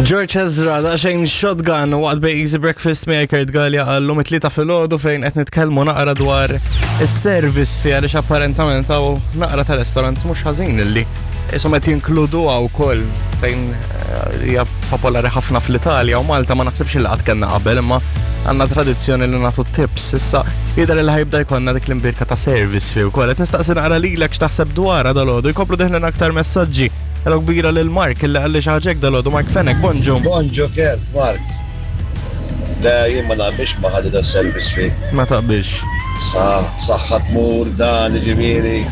George Ezra, daqsxejn shotgun waqt Bay Easy Breakfast miegħi Kurt Gallia għallum it-tlieta filgħodu fejn qed nitkellmu naqra dwar is-service fi għaliex apparentament hawn naqra ta' restaurants mhux ħażin illi isom qed jinkluduha wkoll fejn eh, hija popolari ħafna fl-Italja u Malta ma naħsibx li qatt kellna qabel imma għandna tradizzjoni li nagħtu tips issa jidher li ħajbda jkollna dik l-imbirka ta' service fi wkoll. Qed nistaqsi naqra lilek x'taħseb dwarha dalgħodu jkomplu deħlin aktar messaġġi. Hello kbira lil Mark illi qalli xi ħaġa hekk dalgħodu Mark Fenech, bonġu. Bonġu Kurt, Mark. Le, jien ma naqbilx ma' ħadd da service fee. Ma taqbilx. Sa saħħa tmur dan jiġifieri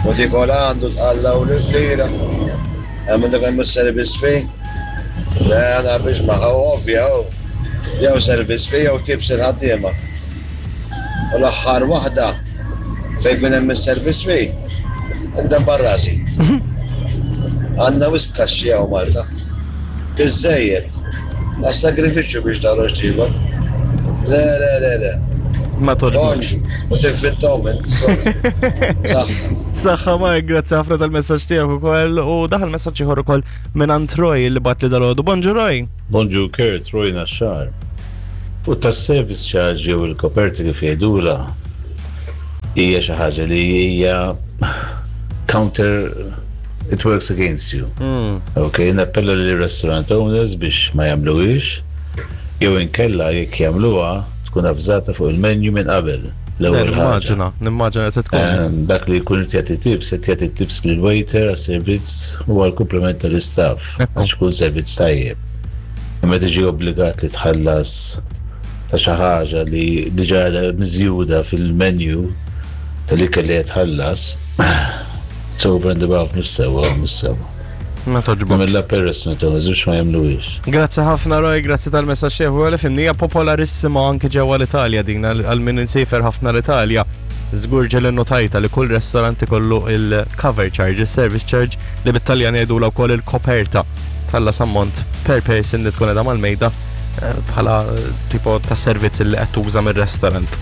u tiekol għandu tqalla' u lira. Hemm dak hemm is-service fee. Le, ma naqbilx magħha u ovvja hu. Jew service fee jew tips il-ħaddiema. U l-aħħar waħda fejn kien hemm is-service fee, indabbar rasi. Għandna wisq taxxi hawn Malta. Biżżejjed. Għas-sagrifiċċju biex toħroġ tiekol. Le, le, le, le. Ma togħġbokx. U tinfittom int, sorry. Saħħa. Saħħa Mark, grazzi ħafna tal-messaġġ tiegħek ukoll u daħal messaġġ ieħor ukoll minn Roy li bat li dalgħodu. Bonġu Roy. Bonġu Kurt, Roy Naxxar. Fuq tas-service charge jew il-koperti kif jgħidulha hija xi ħaġa li hija counter it works against you. Mm. Ok, nappella li restaurant owners biex ma jagħmluhiex jew inkella jekk jagħmluha tkun avżata fuq il-menu minn qabel. L-ewwel ħaġa. Nimmaġina, nimmaġina tkun. Ehm, dak li jkun qed jagħti tips, qed jagħti tips lil waiter għas-servizz u għall-kumpliment tal-istaff. Għax ikun servizz tajjeb. Imma tiġi obbligat li tħallas ta' xi ħaġa li diġà miżjuda fil-menu tal-ikel li qed tħallas, it's over and above mhux sewwa mhux sewwa. Ma toġbokx. Mill peress ma toġbokx ma jagħmluhiex. Grazzi ħafna Roy, grazzi tal-messaġġ tiegħek ukoll fimni hija popolarissima anke ġewwa l-Italja din għal min insiefer ħafna l-Italja. Żgur ġel innotajta li kull restorant ikollu il-cover charge, il-service charge li bit-Taljan jgħidula wkoll il-koperta. Tħallas ammont per person li tkun qiegħda mal-mejda eh, bħala eh, tipo ta' servizz li qed tuża mir-restaurant.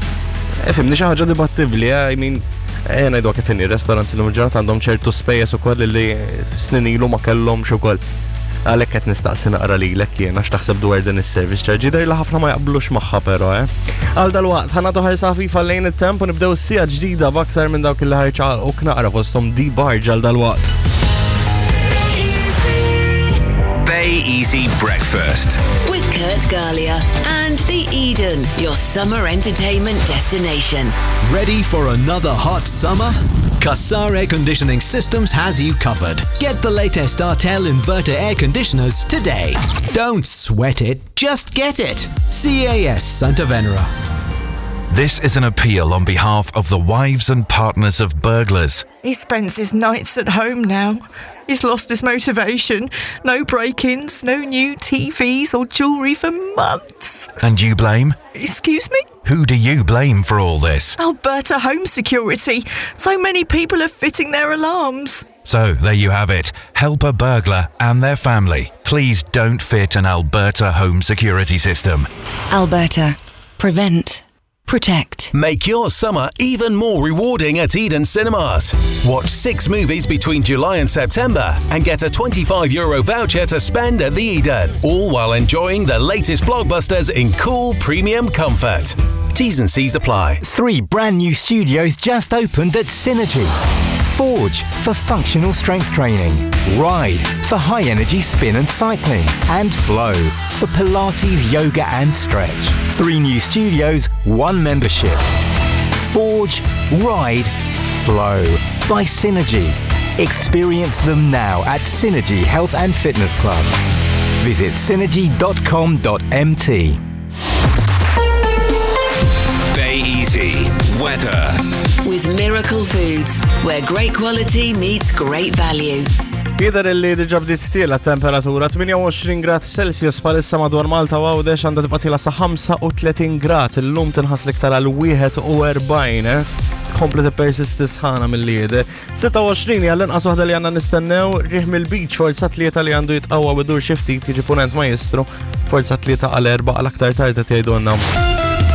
Eh, fimni xi ħaġa dibattibbli, I mean, eh, ngħidu kif inhi restaurants li ġurnata għandhom ċertu spejjeż ukoll li snin ilu ma kellhomx ukoll. Għalhekk qed nistaqsi naqra lilek jien għax taħseb dwar din is-service charge. Jidher li ħafna ma jaqblux magħha però, eh. Għal dalwaqt ħanatu ħarsa ħafifa lejn it-temp u nibdew sija ġdida b'aktar minn dawk li ħarċa u knaqra fosthom di barġ għal dalwaqt. Bay Easy Breakfast. With Kurt Gallia and The Eden, your summer entertainment destination. Ready for another hot summer? Cassar Air Conditioning Systems has you covered. Get the latest Artel inverter air conditioners today. Don't sweat it, just get it. CAS Santa Venera. This is an appeal on behalf of the wives and partners of burglars. He spends his nights at home now. He's lost his motivation. No break ins, no new TVs or jewellery for months. And you blame? Excuse me? Who do you blame for all this? Alberta Home Security. So many people are fitting their alarms. So there you have it. Help a burglar and their family. Please don't fit an Alberta home security system. Alberta. Prevent. Protect. Make your summer even more rewarding at Eden Cinemas. Watch six movies between July and September and get a €25 Euro voucher to spend at the Eden, all while enjoying the latest blockbusters in cool premium comfort. T's and C's apply. Three brand new studios just opened at Synergy. Forge for functional strength training, Ride for high energy spin and cycling, and Flow for Pilates, yoga, and stretch. Three new studios, one membership. Forge, Ride, Flow by Synergy. Experience them now at Synergy Health and Fitness Club. Visit synergy.com.mt. Bay Easy Weather. With Miracle Foods, where great quality meets great value. Jidher li diġa bdiet tiela temperatura 28 grad Celsius palissa madwar Malta u Għawdex għandha tibqa' tiela sa 35 grad illum tinħass l-iktar għal 41, eh? Kompli tippersisti sħana milli jidher. 26 hija l-inqas waħda li għandna nistennew riħ mill-beach forza tlieta li għandu jitqawwa bidur xi ftit jiġi punent majjistru forza tlieta għal erba' għal aktar tard qed jgħidulna.